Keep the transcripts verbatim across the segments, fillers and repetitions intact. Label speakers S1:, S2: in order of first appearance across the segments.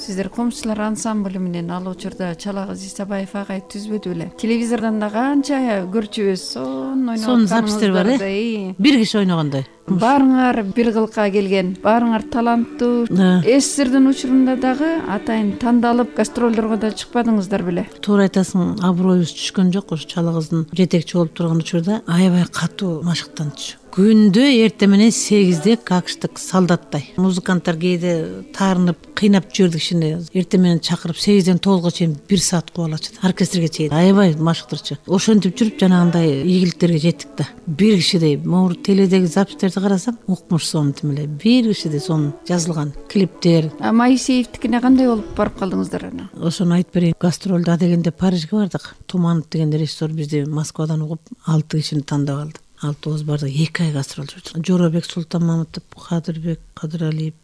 S1: Сиздер Комчулар ансамбль менен ал учурда Чалагыз Исабаев агай түзбөдү беле? Телевизордон да канча көрчүбүз, сонун ойноп
S2: сонун запистер бар э. Бир киши ойногондой.
S1: Баарыңар бир кылка келген, баарыңар таланттуу. СССРдин учурунда дагы атайын тандалып гастролдорго да чыкпадыңыздар беле?
S2: Туура айтасың, аброюбуз түшкөн жок. Ошо Чалагыздын жетекчи болуп турган учурда аябай катуу машыктанчу. Күндө эртең менен сегизде какштык солдаттай. Музыканттар кээде таарынып, кыйнап жүрдүк кишини. Эртең менен чакырып сегизден тогузга чейин бир саат куып алачу. Оркестрге чейин аябай машыктырчу. Ошентип жүрүп жанагындай ийгиликтерге жеттик да. Бир кишидей могу теледеги запистерди карасам, укмуш сонун тим эле. Бир кишидей сонун жазылган клиптер.
S1: А Моисеевдикине кандай болуп барып калдыңыздар аны?
S2: Ошону айтып берейин. Гастролдо дегенде Парижге бардык. Туманов деген режиссер бизди Москвадан угуп алты кишини тандап алды. Алтыбыз бардык, эки ай гастрол жүрдүк. Жоробек Султанмамытов, Кадырбек Кадыралиев,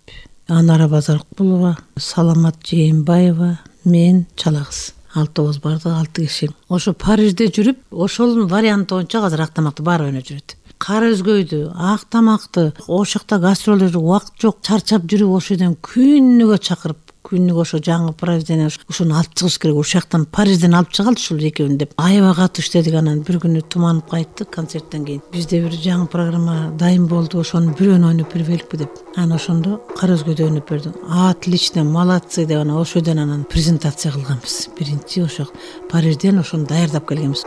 S2: Анара Базаркулова, Саламат Жээнбаева, мен, Чалагыз. Алтыбыз бардык, алты киши. Ошо Парижде жүрүп, ошол вариант боюнча азыр ак тамакты баары ойноп жүрөт. Кара өзгөйдү, ак тамакты, ошол жакта гастролдо убакыт жок, чарчап жүрүп ошол жерден күнүгө чакырып, күнүгө ошо жаңы произведение ошону алып чыгыш керек. Ошол жактан Парижден алып чыгалды ушул экөөнү деп. Аябай катуу иштедик. Анан бир күнү Туманып кайтты концерттен кийин. Бизде бир жаңы программа дайым болду, ошонун бирөөнү ойноп бербейликпи деп. Анан ошондо Кара өзгөйдү ойноп берди. Отлично, молодцы деп анан ошол жерден анан презентация кылганбыз. Биринчи ошо Парижден ошону даярдап келгенбиз.